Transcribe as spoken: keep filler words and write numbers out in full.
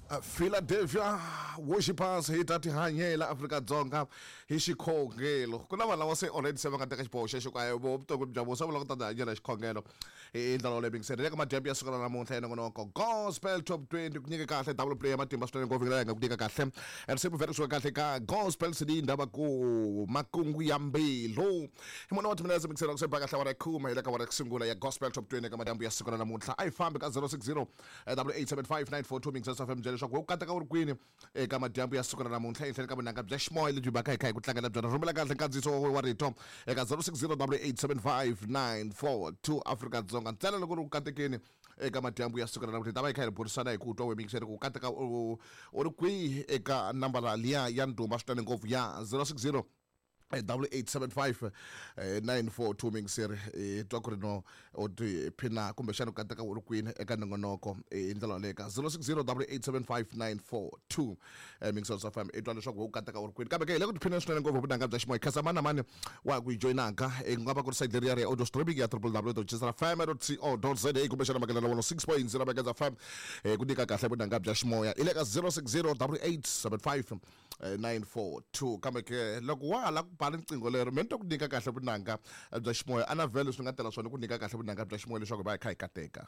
Philadelphia Worshipers hi ta tihanyela Afrika-Dzonga hi xikhongelo. Ku na vanhu lava se already se va nga teka xiboho xexo ku a vo vutomi bya vona se va lava ku ta tihanyela hi xikhongelo hi ndlela yoleyo. Bingiseri le ka madyambu ya siku ra namuntlha ya nongonoko Gospel Top twenty ku nyika kahle double play ya matimba swinene ngopfu hi nga ku nyika kahle risimu vhele kusuka kahle ka Gospel C D ndava ku makungu ya mbilu hi mune wa timinetse. Bingiseri ku se ba kahle awara ya khume hi le ka awara ya ku sungula ya Gospel Top twenty ka madyambu ya siku ra namuntlha. A yi fambi ka zero six zero eight eight seven five nine four two. Mingiseri F M byela leswaku u kateka u ri kwini eka madyambu ya siku ra namuntlha ehenhleni ka vunanga bya ximoya lebyi baka hi kha hi ku tlangela byona. Rhumela kahle nkandziyiso wa rito eka zero six zero eight eight seven five nine four two Afrika-Dzonga ntsena loko ri ku katekeni eka madyambu ya siku ra namuntlha. Hi ta va hi kha hi burisana hi ku twa wemikiseri ku kateka u u ri kwihi eka nambara liya ya ndhuma swinene ngopfu ya zero six zero double eight seven five nine four two. Mingiseri hi twa ku ri no u tiphina kumbexana u kateka u ri kwini eka nongonoko hi ndlela yaleyo ka zero six zero double eight seven five nine four two. Mingiseri swa fm i twa leswaku u kateka u ri kwini, kambe ke hi le ku tiphineni swinene ngopfu vunanga bya ximoya. Khasa mani na mani wa ku yi joyinaka i nga va ku ri site leriya ri ya audio streaming ya w w w dot fm co za kumbexana makelelo one oh six point zero Megaz F M ku nyika kahle vunanga bya ximoya i le ka zero six zero double eight seven five nine four two. Kambe ke loko wa ha lava ku ba riqingho lero me ni twa ku nyika kahle vunanga bya ximoya a na vhele swi nga tela swona ku nyika kahle vunanga bya ximoya leswaku hi va hi kha hi kateka.